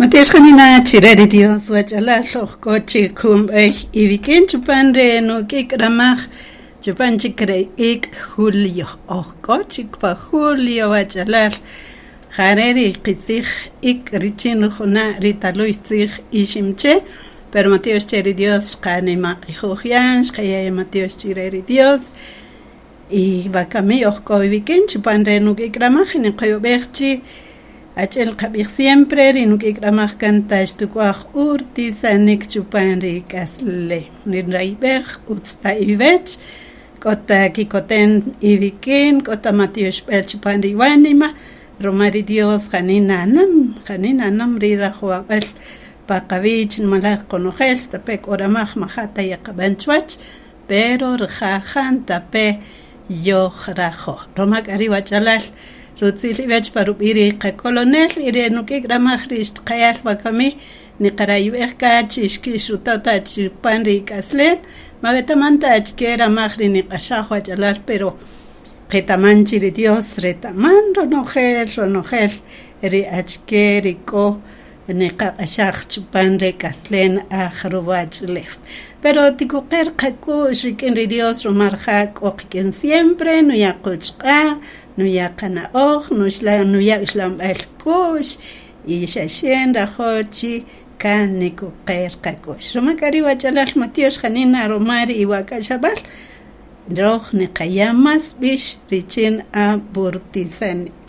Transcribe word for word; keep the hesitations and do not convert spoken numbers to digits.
Matiox janina chire ri Dios wach'alal oj k'o chik jun b'ey iwik'in chupan re nuk'ik ramaj chupan chik re ik' julio oj k'o chik pa julio wach'alal jare ri qitzij ik' richin rijuna' ri taluy tzij iximche pero matiox che ri Dios xqanimaq'ijuj yan xqaya' matiox chire ri Dios y wakami oj k'o iwik'in chupan re nuk'ik ramaj niqoyob'ej chi ach'el qab'ij siempre ri nuk'ik ramaj kan xtuk'uaj urtisanik chupan ri k'aslem ninrayb'ej utz ta iwech k'o ta kikoten iwik'in k'o ta matioxb'al chupan ri iwanima ruma ri Dios janina nam janina nam ri rajowab'al pa qawich nimalaj qonojel stape' k'o ramaj maja' ta yeqab'an chuwach pero rija' jantape' yoj rajo ruma k'a ri wach'alal rutzil iwech pa rub'i' ri qakolonel y re nuk'ik ramaj ri xtqayal wakami niqarayb'ej ka chi xkixrutota chupan ri k'aslem ma wetaman ta achike ramaj ri niq'axaj wach'alal pero qetaman chi ri Dios retaman ronojel ronojel ri achike ri k'o niqaq'axaj chupan re k'aslem aj ruwach'ulew pero tikuqer qak'u'x rik'in ri Dios ruma raja' k'o qik'in siempre nuya' quchq'a' nuya' qana'oj nuya' uxlanb'al k'u'x y xaxe nrajo' chi kan nikuqer qak'u'x ruma k'a ri wach'alal matiox janina ruma ri iwak'axab'al roj niqaya' mas b'ix richin aburtisanik.